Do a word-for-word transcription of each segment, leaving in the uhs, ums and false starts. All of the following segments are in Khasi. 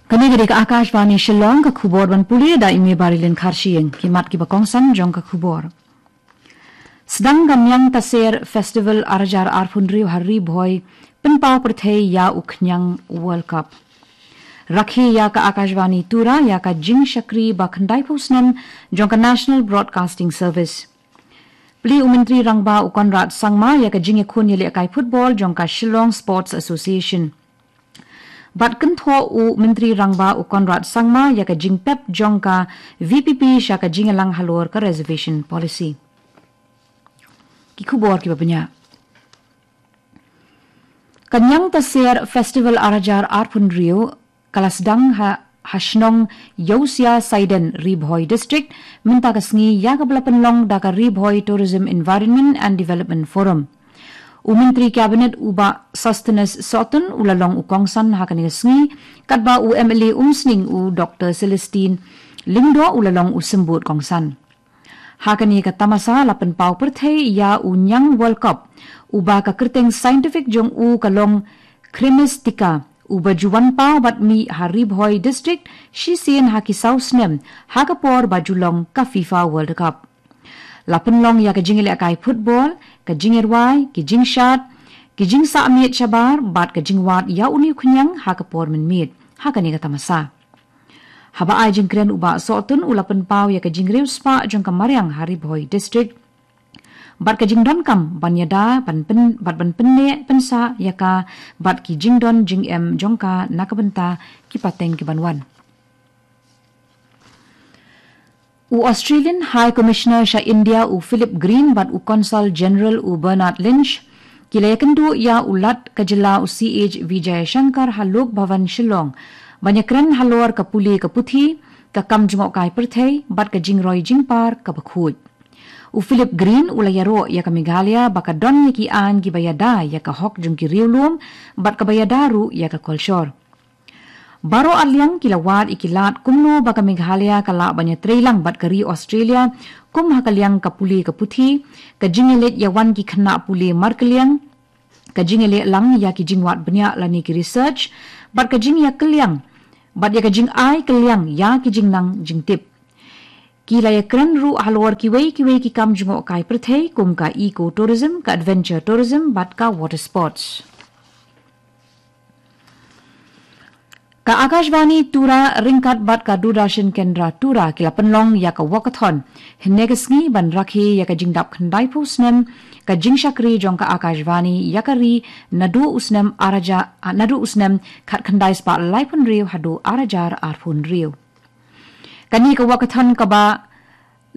Kane ka dei ka Akashvani Shillong, ka khubor ban pule da i Marilyn Kharshing. Ki mat kiba kongsan jong ka khubor. Sdang ka Niang Taser Festival ar hajar arphew hynriew ha Ri Bhoi, pynpaw pyrthei ïa u khñiang World Cup. Rakhe ïa ka Akashvani Tura ïa ka jingshakri ba khyndaiphew snem jong ka National Broadcasting Service. Plie u Myntri Rangbah u Conrad Sangma ïa ka jingïakhun ïalehkai football jong ka Shillong Sports Association. Bad kynthoh u Myntri Rangbah u Conrad Sangma ïa ka jingpep jong ka V P P sha ka jingïalang halor ka reservation policy. Ki khubor kiba bniah. Ka Niang Taser Festival ar hajar arphew hynriew ka la sdang ha, ha shnong Yausia Saiden, Ri Bhoi District, mynta ka sngi ïa kaba la pynlong da ka Ri Bhoi Tourism Environment and Development Forum. U Myntri Cabinet u Bah Sosthenes Sohtun u la long u kongsan ha kane ka sngi, katba u M L A Umsning u Doktor Celestine Lyngdoh u la long u symbud kongsan. Ha kane ka tamasa la pynpaw pyrthei ïa u Niang World Cup, uba ka kyrteng scientific jong u ka long Cremistica, uba ju wan paw bad mih ha Ri Bhoi District shisien ha ki saw snem, ha ka por ba ju long ka FIFA World Cup. La pynlong ïa ka jingïalehkai football, ka jingïarwai, ki jingshad, ki jingsah miet shabar, bad ka jingwad ïa une u khñiang ha ka por mynmiet ha kane ka tamasa. Haba ai jingkren u Bah Sohtun u la pynpaw ïa ka jingriewspah jong ka mariang ha Ri Bhoi District bad ka jingdonkam ban ïada, ban pyn, bad ban pynneh pynsah ïa ka bad ki jingdon jingem jong ka na ka bynta ki pateng kiban wan. U Australian High Commissioner sha India u Philip Green bad u Consul General u Bernard Lynch ki la ïakynduh ïa u Lat ka jylla u C H Vijayashankar ha Lok Bhavan Shillong ban ïakren halor ka pule ka puthi, ka kam jngohkai pyrthei bad ka jingroi jingpar kaba khuid. U Philip Green u la ïaroh ïa ka Meghalaya ba ka don ïa ki aiñ kiba ïada ïa ka hok jong ki riewlum bad kaba ïada ruh ïa ka kolshor. Baroh arliang ki la wad ïa ki lad kumno ba ka Meghalaya ka lah ban ïatreilang bad ka ri Australia kum ha ka liang ka pule ka puthi, ka jingïaleit ïawan ki khynnah pule markylliang, ka jingïalehlang ïa ki jingwad bniah lane ki research, bad ka jingïakylliang bad ïa ka jingai kylliang ïa ki jingnang jingtip. Ki la ïakren ruh halor kiwei kiwei ki kam jngohkai pyrthei kum ka eco tourism, ka adventure tourism bad ka water sports. Ka Akashvani Tura ryngkat bad ka Doordarshan Kendra Tura ki la pynlong ïa ka walkathon hynne ka sngi ban rakhe ïa ka jingdap khyndaiphew snem ka jingshakri jong ka Akashvani ïa ka ri naduh u snem ar hajar, ah, naduh u snem khatkhyndai spah laiphew hynriew haduh ar hajar arphew hynriew. Kane ka walkathon kaba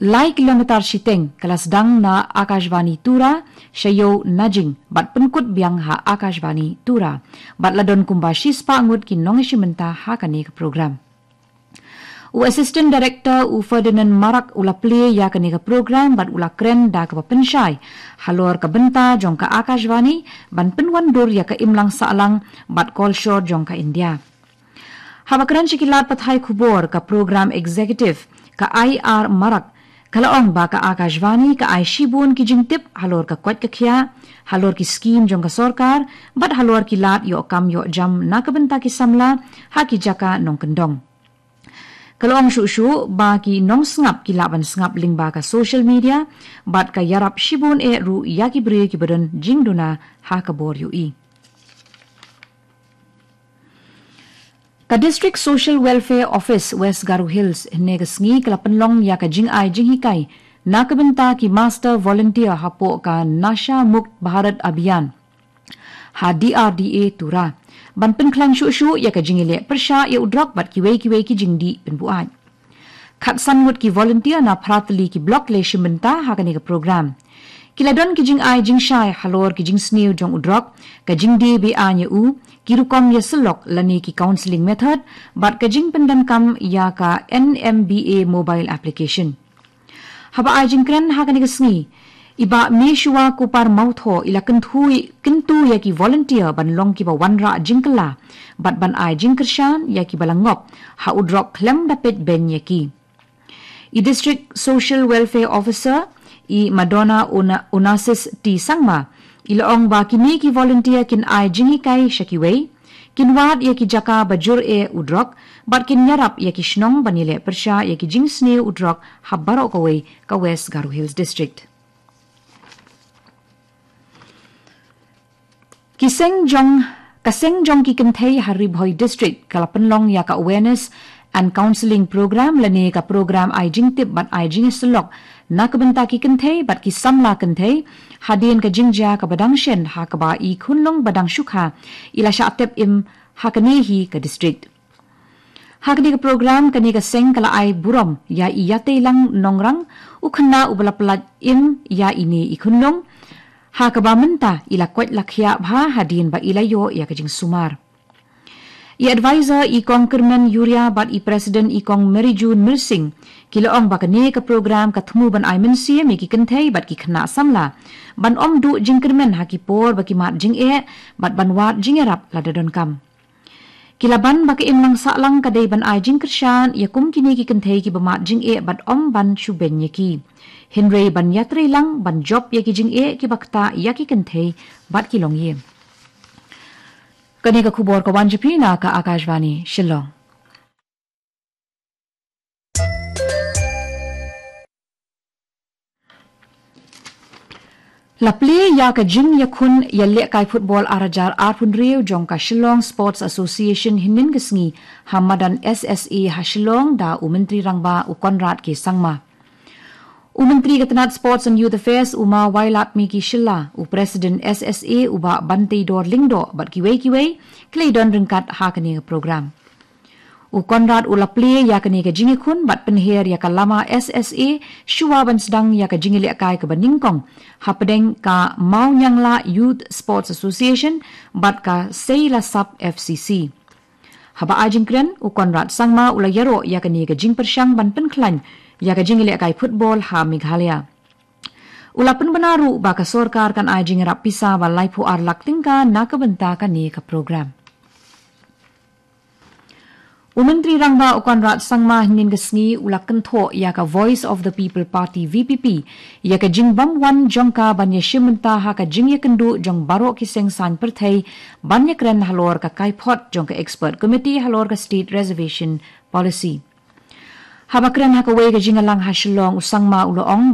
lai kilometer shiteng ka la sdang na Akashvani Tura sha ïew Najing bad pynkut biang ha Akashvani Tura. Bad la don kumba shispah ngut ki nongïashim bynta ha kane ka program. U Assistant Director u Ferdinand Marak u la plie ïa kane ka program bad u la kren da kaba pynshai halor ka bynta jong ka Akashvani ban pynwandur ïa ka imlang sahlang bad kolshor jong ka India. Haba kren sha ki lad pathai khubor, ka Program Executive, ka I R Marak, ka la ong ba ka Akashvani ka ai shibun ki jingtip halor ka koit ka khiah, halor ki skim jong ka sorkar, bad halor ki lad ïoh kam ïoh jam na ka bynta ki samla ha ki jaka nongkyndong. Ka la ong shuh shuh ba ki nongsngap ki lah ban sngap lyngba ka social media, bad ka ïarap shibun eh ruh ïa ki briew kiba don jingduna ha ka bor ïohi. Ka District Social Welfare Office West Garo Hills hynne ka sngi ka la pynlong ïa ka jingai jinghikai na ka bynta ki Master Volunteer hapoh ka Nasha Mukt Bharat Abhiyan ha D R D A Tura, ban pynkhlaiñ shuh shuh ïa ka jingïaleh pyrshah ïa u drok bad kiwei kiwei ki jingdih pynbuaid. Khatsan ngut ki volunteer na phra tylli ki block la shim bynta ha kane ka program. Ki la don ki jingai jingshai halor ki jingsniew jong u drok, ka jingdie be-aiñ ïa u, ki rukom ïasyllok lane ki counselling method, bad ka jingpyndonkam ïa ka N M B A mobile application. Haba ai jingkren ha kane ka sngi, i Bah Meshua Kupar Mawthoh i la kyntu, kyntu ïa ki volunteer ban long kiba wanrah jingkylla bad ban ai jingkyrshan ïa kiba la ngop ha u drok khlem da peit beiñ ïa ki. I District Social Welfare Officer, i Madonna Ona-, Onassis T Sangma, i la ong ba kine ki volunteer kin ai jinghikai sha kiwei, Kin wad ïa ki jaka ba jur eh u drok, bad kin ïarap ïa ki shnong ban ïaleh pyrshah ïa ki jingsniew u drok ha baroh kawei ka West Garo Hills District. Ki seng jong, ka seng jong ki kynthei ha Ri Bhoi District ka la pynlong ïa ka awareness and counselling program lane ka program ai jingtip bad ai jingïasyllok na ka bynta ki kynthei bad ki samla kynthei, hadien ka jingjia kaba dang shen ha kaba i khunlung ba dang shu kha i la shah tep im ha kane hi ka district. Ha kane ka program kane ka seng ka la ai burom ïa i Ïateilang Nongrang, u khynnah uba la pyllait im ïa ine i khunlung, ha kaba mynta i la koit la khiah bha hadien ba i la ïoh ïa ka jingsumar. I advisor i Kong Kyrmen Yuria bad i president i Kong Mary June Myrsing ki la ong ba kane ka program ka thmu ban ai mynsiem ïa ki kynthei bad ki khynnah samla ban ym duh jingkyrmen ha ki por ba ki mad jingeh bad ban wad jingïarap lada donkam. Ki la ban ba ka imlang sahlang ka dei ban ai jingkyrshan ïa kum kine ki kynthei kiba mad jingeh bad ym ban shu beiñ ïa ki, hynrei ban ïatreilang ban jop ïa ki jingeh kiba ktah ïa ki kynthei bad ki longïing. Kane ka khubor ka wan sha phi na ka Akashvani Shillong. La plie ïa ka jingïakhun ïalehkai football ar hajar arphew hynriew jong ka Shillong Sports Association hynnin ka sngi ha madan S S A ha Shillong da u Myntri Rangbah u Conrad K Sangma. U Myntri ka tnat Sports and Youth Affairs u Ma Wailadmiki Shylla, u President S S A u Bah Banteidor Lyngdoh bad kiwei kiwei ki la don ryngkat ha kane ka program. U Conrad u la plie ïa kane ka jingïakhun bad pynher ïa ka lama S S A shuwa ban sdang ïa ka jingïalehkai kaba nyngkong hapdeng ka Mawniangla Youth Sports Association bad ka Seilasap F C C. Haba ai jingkren, u Conrad Sangma u la ïaroh ïa kane ka jingpyrshang ban pynkhlaiñ ïa ka jingïalehkai football ha Meghalaya. U la pynbna ruh ba ka sorkar kan ai jingïarap pisa ba laiphew ar lak tyngka na ka bynta kane ka program. U Myntri Rangbah u Conrad Sangma hynnin ka sngi u la kynthoh ïa ka Voice of the People Party V P P ïa ka jingbym wan jong ka ban ïashim bynta ha ka jingïakynduh jong baroh ki seng saiñ pyrthei ban ïakren halor ka kaiphod jong ka Expert Committee halor ka State Reservation Policy. Haba kren ha kawei ka jingïalang ha Shillong, u Sangma u la ong